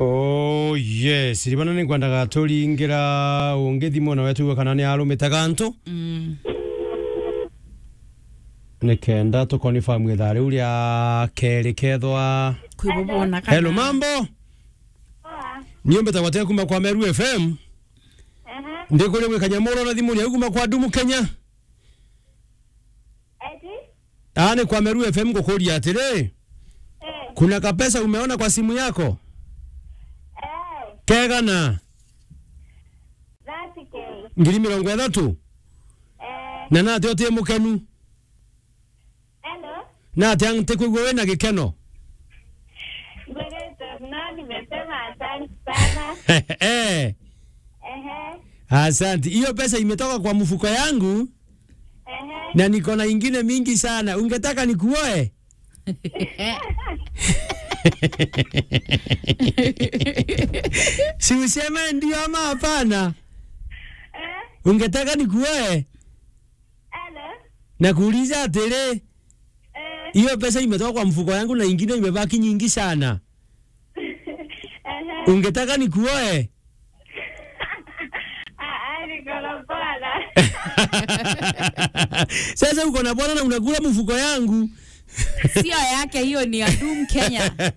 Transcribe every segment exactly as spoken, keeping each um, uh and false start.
Oh, yes. Ribana ni ngwendaga turingira ungi thimu na wetu kana ni arumite gantu. Mm. Ni kenda tu confirm ithaa riu ria keri kethwa. Kwi bo bona kana. Hello, mambo? Poa. Ni umbite gwate kuma kwa Meru F M. Aha. Ndikuria gwi Kanyamura na thimu ni kuma kwa Dumu Kenya. Eti? Ah, ni kwa Meru F M ngukuria atiri. Eh. Kuna kapesa umeona kwa simu yako? Eh. Kegana? Thirty K. Ngiri mirongo ithatu? Eh. Na nati uti mukenu? Hello? Nati ntikwigua wina gikeno? Ngwirite, no, nimesema asante sana. Eh. Ehe. Asante. Hiyo pesa imetoka kwa mfuko yangu. Ehe. Na niko na ingine mingi sana. Ungetaka nikuoe? Si useme ndio ama hapana? Eh? Ungetaka nikuoe? Hello? Nakuuliza atiri, eh, hiyo pesa imetoka kwa mfuko yangu na ingine imebaki nyingi sana. Ehe. Ungetaka nikuoe? Ah, ah, niko na bwana. Sasa uko na bwana na unakula mfuko yangu. Sio yake, hiyo ni ya Dumu Kenya.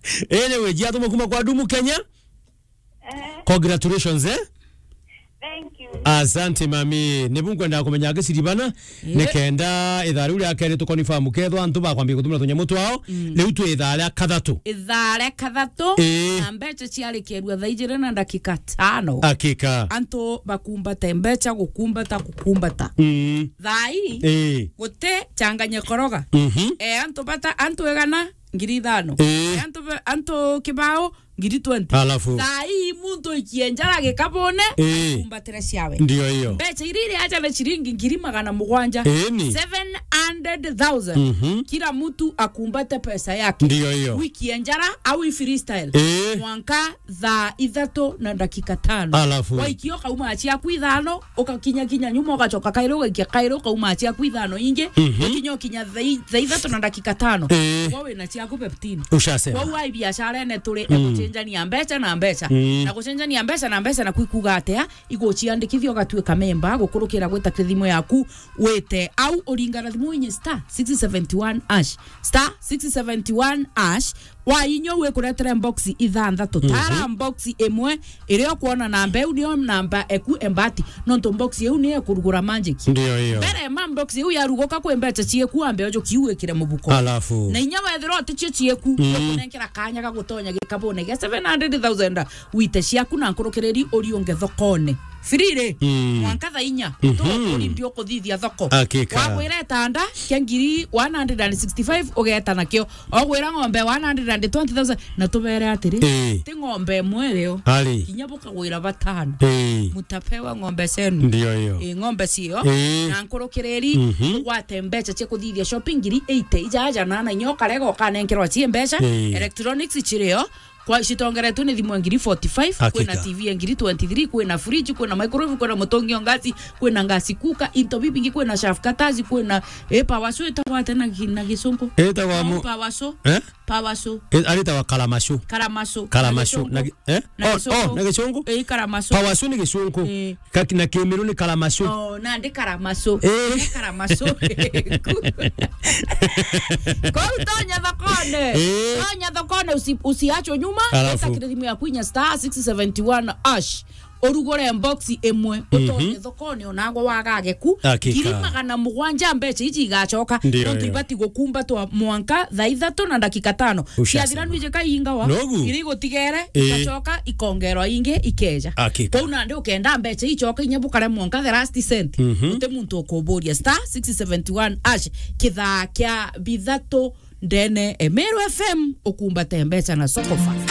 Anyway, jia tuma kuma kwa Dumu Kenya. Eh. Congratulations, eh? Thank you. Asante, mami. Ni bu ngwendaga kumenya giciribana, eh, ni kenda ithaa riu ria keri tu confirm kethwa antu bakwambia gutumira tunyamu twao. Mm. Riu twi ithaa ria kathatu. Ithaa ria kathatu, eh, na mbeca ciarikerua thaa ijiri na ndakika tano. Hakika. Antu bakumbate mbeca, gukumbata, gukumbata. Mm. Thaa ii, eh, guti changanya koroga. Mhm. Eh, antu bata, antu igana, ngiri ithano. Eh. Eh, antu ba-, antu kibao, ngiri twenty. Alafu? Thaa ii muntu ikie njara gikabune, eh, akumbatire ciawe. Ndio hiyo. Mbeca iria iri aja ni ciringi ngiri magana mugwanja. Eni. Seven hundred thousand. Mhm. Kila mtu akumbate pesa yake. Ndio hiyo. Wikie njara au i freestyle. Eh. Mwanka thaa ithatu na ndakika tano. Alafu? Waikia ukauma ciaku ithano, ukakinya kinya nyuma, ugacoka kairi, ugaikia kairi, ukauma ciaku ithano ingi, mhm, ukinya, ukinya thaa i-, thaa ithatu na ndakika tano. Eh. Kwa wina ciaku fifteen. Ushasema. Kwou ai biacara ene turi, mm, egucenjania mbeca na mbeca. Mm. Na gucenjania mbeca na mbeca na kwikuga atia, iguciandikithia ugatuika memba, gukurukira gwita kiri thimu yaku, wite au uringana thimu inye star six seventy one hash. Star six seventy one hash. Wainyua wikuretere box ithanthatu. Mhm. Tara box imwe, iria ukwona namba iu niyo namba eku embati. Nontu box iu niyo ikurugura magic. Ndio hiyo. Mbere ma box iu yaruguka kwi mbeca cieku, ambe ujuki wikire mubuko. Alafu? Na inya wethira uticio cieku, mm, ikunenkera kanya ga gutonya gikabune gia seven hundred thousand, wite ciaku na nkurukiriri uriunge thokone. Free ri? Mm. Mwanka thaa inya, mhm, tu uri ndio kuthithia thoko. Hakika. Wagwira itanda kia ngiri one hundred and sixty-five, ugeta nakio. Ogwira ng'ombe one hundred and twenty thousand, na tubere atiri, eh, ti ng'ombe imwe rio. Ari. Kinya bukagwira batano. Eh. Mutapewa ng'ombe zenu. Ndio hiyo. Eh, ng'ombe cio. Eh. Na nkurukiriri, mhm, ugwate mbeca cia kuthithia shopping ngiri eighty. Ija aja na na inyo karega ukanenkerwa cie mbeca. Eh. Electronics cirio. Kwa citongeretwe ni thimu ya ngiri forty-five, hakika, kwina T V ya ngiri twenty-three, kwina fridge, kwina microwave, kwina mutungi o ngasi, kwina ngasi kuka, into bibingi, kwina shaft cutters, kwina, eh, power saw itagwa atia na gi-, na gicungu? Itagwa mu- Power saw. Eh? Power saw. Eh, aritawa karamacu. Karamacu. Karamacu. Na gi-, eh? Na gicungu. Oh, oh, na gicungu? Eh, karamacu. Power saw ni gicungu. Eh. Ka-, na kimiru ni karamacu. Oh, nandi karamacu. Eh. Ni karamacu. Kou tonya thokone. Eh. Tonya thokone, usi-, usiachwe nyuma. Alafu? Weta kiri thimu yaku inya star six seventy one hash. Urugure box imwe, mhm, utonye thokone onagwa wagage ku. Hakika. Ngiri magana mugwanja mbeca iji igacoka. Ndio, nontu, ndio, ibati gukumbatwa mwanka thaa ithatu na ndakika tano. Ushasema. Ciathira nwije kaingawa. Nogu? Iria igutigere, eh, igacoka ikongerwa ingi ikeja. Hakika. Kwou nandi ukenda mbeca icoka inya bukare mwanka the last cent. Mhm. Uti muntu ukuburia. Star six seventy one hash, kithaa kia bithatu ndene e Meru F M, ukumbate mbeca na Soko Fast.